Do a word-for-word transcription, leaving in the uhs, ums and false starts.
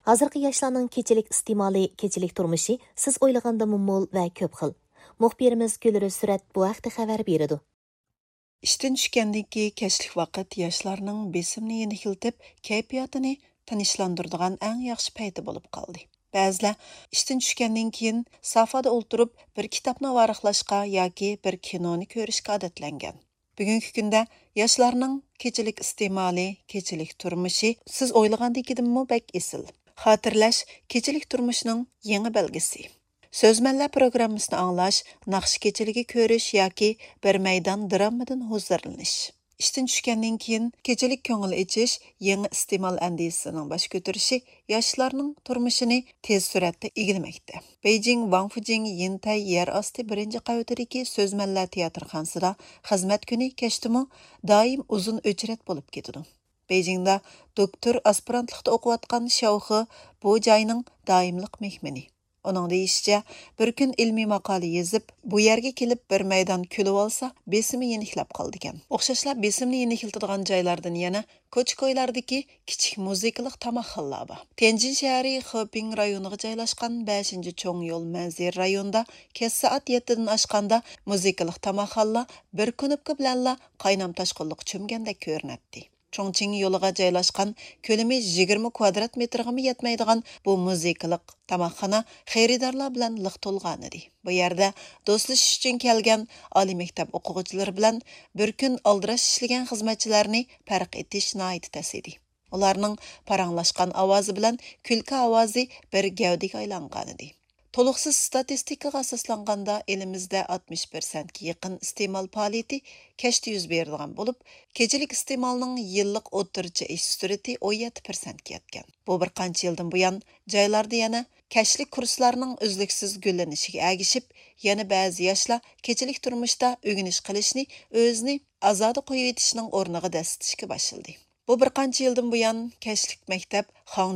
ھازىرقى ياشلارنىڭ كېچىلىك ئىستېمالى، كېچىلىك تۇرمۇشى سىز ئويلىغاندىنمۇ مول ۋە كۆپ خىل. مۇخبىرىمىز گۈلرۈز سۈرەت بۇ ھەقتە خەۋەر بېرىدۇ. ئىشتىن چۈشكەندىن كېيىن كەچلىك ۋاقىت ياشلارنىڭ بېسىمىنى يېنىكلىتىپ، كەيپىياتىنى تىنچلاندۇرىدىغان ئەڭ ياخشى پەيتى بولۇپ قالدى. بەزىلەر ئىشتىن چۈشكەندىن كېيىن سافادا ئولتۇرۇپ، بىر كىتابنى ۋاراقلاشقا ياكى بىر كىنونى كۆرۈشكە ئادەتلەنگەن. بۈگۈنكى كۈندە ياشلارنىڭ كېچىلىك ئىستېمالى، كېچىلىك تۇرمۇشى سىز ئويلىغاندىكىدىنمۇ بەك ئېسىل. خاتىرىلەش كېچىلىك تۇرمۇشنىڭ يېڭى بەلگىسى. سۆزمەنلەر پروگراممىسىنى ئاڭلاش، ناخشا كېچىلىكى كۆرۈش ياكى بىر مەيدان دراممىدىن ھۇزۇرلىنىش. ئىشتىن چۈشكەندىن كېيىن كېچىلىك كۆڭۈل ئېچىش يېڭى ئىستېمال ئەندىزىسىنىڭ باش كۆتۈرۈشى ياشلارنىڭ تۇرمۇشىنى تېز سۈرئەتتە ئىگىلىمەكتە. بېيجىڭ ۋاڭفۇجىڭ يىنتەي يەر ئاستى بىرىنچى قەۋىتىدىكى سۆزمەنلەر تىياتىرخانىسىدا خىزمەت كۈنى كەچتىمۇ دائىم ئۇزۇن ئۆچرەت بولۇپ كېتىدۇ. بېيجىڭدا دوكتور ئاسپىرانتلىقتا ئوقۇۋاتقان شياۋخې بۇ جاينىڭ دائىملىق مېھمىنى. ئۇنىڭ دېيىشىچە، بىر كۈن ئىلمىي ماقالە يېزىپ، بۇ يەرگە كېلىپ بىر مەيدان كۈلۈۋالسا، بېسىمى يېنىكلەپ قالىدىكەن. ئوخشاشلا بېسىمنى يېنىكلىتىدىغان جايلاردىن يەنە كوچا-كويلاردىكى كىچىك مۇزىكىلىق تاماقخانىلار بار. تيەنجىن شەھىرى خېپىڭ رايونىغا جايلاشقان بەشىنچى چوڭ يول مەنزىرە رايونىدا كەچ سائەت يەتتىدىن ئاشقاندا مۇزىكىلىق تاماقخانىلار بىر كۇنۇپكا بىلەنلا قاينام تاشقۇنلۇققا چۆمگەندەك كۆرۈنەتتى. چۇڭچىڭ يولىغا جايلاشقان، كۆلىمى يىگىرمە كۋادرات مېتىرغىمۇ يەتمەيدىغان بۇ مۇزىكىلىق تاماقخانا خېرىدارلار بىلەن لىق تولغانىدى. بۇ يەردە دوستلىشىش ئۈچۈن كەلگەن ئالىي مەكتەپ ئوقۇغۇچىلىرى بىلەن بىر كۈن ئالدىراش ئىشلىگەن خىزمەتچىلەرنى پەرق ئېتىش ناھايىتى تەس ئىدى. ئۇلارنىڭ پاراڭلاشقان ئاۋازى بىلەن كۈلكە ئاۋازى بىر گەۋدىگە ئايلانغانىدى. تولۇقسىز ستاتىستىكىغا ئاساسلانغاندا، ئېلىمىزدە ئاتمىش پىرسەنتكە يېقىن ئىستېمال پائالىيىتى كەچتە يۈز بېرىدىغان بولۇپ، كېچىلىك ئىستېمالنىڭ يىللىق ئوتتۇرىچە ئېشىش سۈرئىتى ئون يەتتە پىرسەنتكە يەتكەن. بۇ بىر قانچە يىلدىن بۇيان جايلاردا يەنە كەچلىك كۇرسلارنىڭ ئۈزلۈكسىز گۈللىنىشىگە ئەگىشىپ، يەنە بەزى ياشلار كېچىلىك تۇرمۇشتا ئۆگىنىش قىلىشنى ئۆزىنى ئازادە قويۇۋېتىشنىڭ ئورنىغا دەسسىتىشكە باشلىدى. بۇ بىر قانچە يىلدىن بۇيان كەچلىك مەكتەپ خاڭجۇ